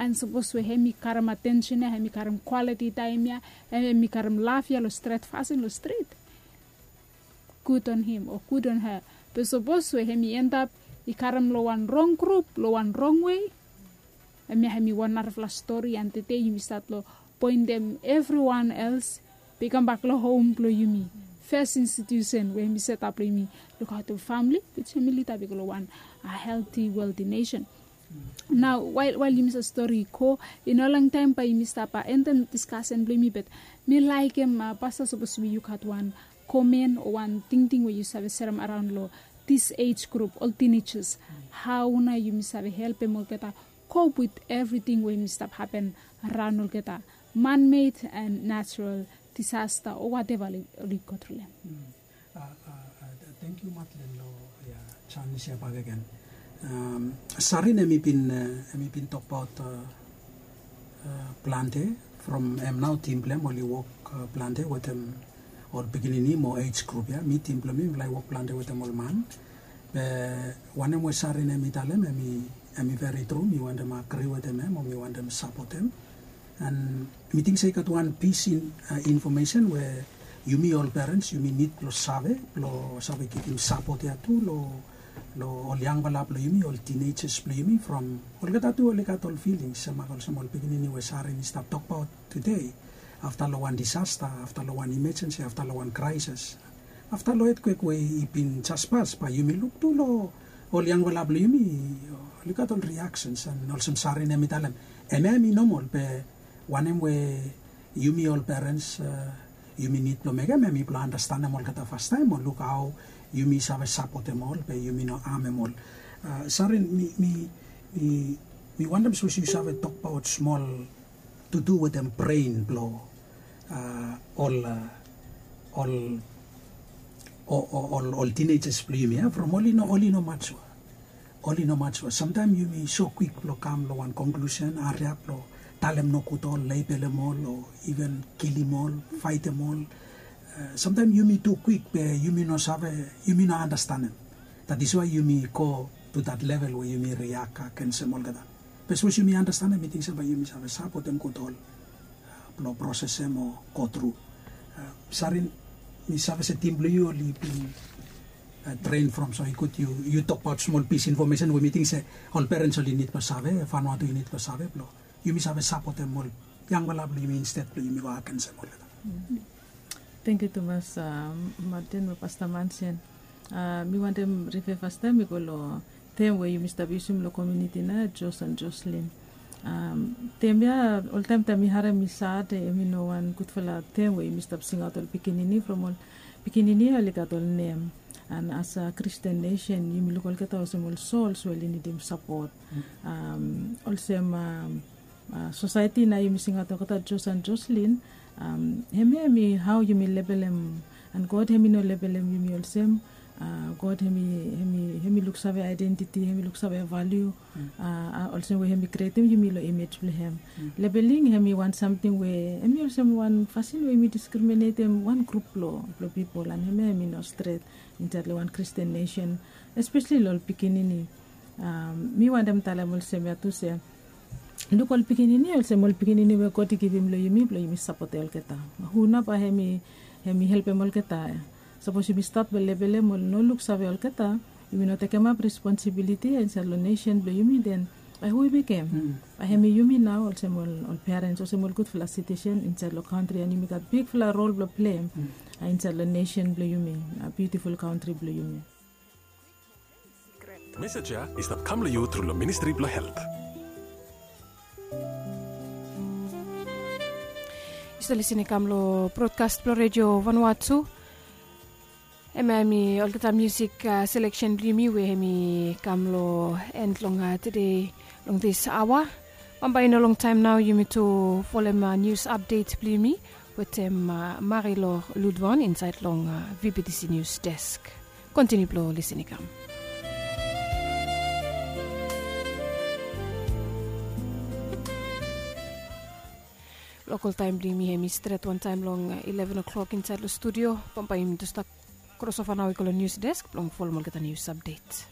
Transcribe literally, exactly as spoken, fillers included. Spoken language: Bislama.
An sapos we hem i karem atensen ya, hem i karem kwaliti taem ya, hem i karem laf ya long stret fasin long strit, gud on him o gud on ha. Be sapos we hem i endap i karem long wan rong grup, long wan rong wei, hem ya hem i wan narafala stori. An tede yumi stat long poentem evriwan els be i kambak long hom blong yumi, fes institusen we hem i setap long yumi, lukaotem famili, which hem i lidap i go long wan helti welti nesen. Nao wael yumi save stori i go, i no longtaem bae yumi stap endem diskasen blong yumi, bat mi laekem pasta sapos we yu gat wan komen o wan tingting we yu save serem araon long dis ej grup, ol tinejas, hao nao yumi save helpem olgeta kop wit evriting we yumi stap hapen araon olgeta, manmed an natural disasta o wateva oli go tru long hem. Tangkiu Madlen long ya, janis ya bakegen. Sarin hem i bin tokbaot plante from hem nao tim blong hem oli wok plante wetem ol pikinini mo ej grup ya. Mi tim blong mi mi laik wok plante wetem ol man. Be wanem we Sarin hem i talem hem i veri tru, mi wantem agri wetem hem o mi wantem sapotem. An mi ting se i gat wan pis infomesen we yumi ol perens yumi nid blong save, blong save givim sapot ya tu long ol yangfala blong yumi, ol tinejas blong yumi, from olgeta tu oli gat ol filings semak olsem ol pikinini we Sarin i stap tokbaot tude. Afta long wan disasta, afta long wan imejensi, afta long wan kraesis, afta long etkwek we i bin jes pas, bae yumi luk tu long ol yangfala blong yumi, oli gat ol riaksens an olsem Sarin hem i talem, hem ya hem i nomol be wanem we yumi ol perens yumi nid blong mekem hem i blong andastanem olgeta fastaem o luk hao yumi save sapotem ol be yumi no amem ol. Sarin, mi wantem sapos yu save tokbaot smol tutu wetem bren blong ol ol ol tinejas blong yumi ya, from oli no oli no majua. Oli no majua. Samtaem yumi so kwik blong kam long wan konklusen, hariap blong talem nogud ol, lebelem ol o iven kilim ol, faetem ol. Samtaem yumi tu kwik be yumi no save, yumi no andastanem. That is why yumi go tu that level we yumi riak agensem olgeta. Be sapos yumi andastanem, mi ting se bae yumi save sapotem gud ol blong prosesem o go tru. Sarin, mi save se tim blong yu oli bin tren from, so i gud yu tokbaot smol pis infomesen we mi ting se ol perens oli nid blong save, Vanuatu i nid blong save blong yumi save sapotem ol yangfala blong yumi insted blong yumi go agensem olgeta. Tangkiu tumas Martin mo Pasta Mansen. Mi wantem rifea fastaem mi go long tem we yumi stap yusum long komuniti nao, Jos an Joslin. Tem ya oltaem taem mi harem i sad, hem i no wan gudfala tem we yumi stap singaot ol pikinini from ol pikinini ya oli gat ol nem. An as a Kristin nesen yumi luk olgeta olsem ol sols we oli nidim sapot. Olsem sosaeti nao yumi singaot olgeta Jos an Joslin. Hemia hemi hao yumi lebelem, an God hemi no lebelem yumi olsem. God hemi luksave aedentiti, hemi luksave valiu, olsem we hemi krietem yumi long imej blong hem. Lebeling hemi wan samting we hemi olsem wan fasin we yumi diskriminatem wan grup blong pipol, an hemia hemi no stret insaed long wan Kristin nesen, espesli long ol pikinini. Mi wantem talem olsem ya tu se, luk ol pikinini olsem ol pikinini we God i givim long yumi blong yumi sapotem olgeta. Hu nao bae hemi helpem olgeta? Sapos yumi stat blong lebelem ol no luksave olgeta, yumi no tekemap responsibiliti ya insaed long nesen blong yumi, den bae hu i mekem? Bae hemi yumi nao olsem ol perens, olsem ol gudfala sitisen insaed long kantri, an yumi gat bigfala rol blong pleim insaed long nesen blong yumi, biutiful kantri blong yumi. Mesej ya i stap kam long yu tru long Ministri blong Helt. Yu stap lisin i kam long brodkas blong Redio Vanuatu. Hemia hemi olgeta musik seleksen blong yumi we hemi kam long en long tude long dis aoa. Bambae i no longtaem nao yumi tu folem nius apdet blong yumi wetem Marilor Ludwan insaed long VBTC Nius Desk. Kontiniu blong lisin i kam. Lokol taem blong yumi hemi stret wantaem long ileven o'clock insaed long studio. Bambae yumi tu stap krosova nao i go long nius desk blong folem olgeta nius apdet.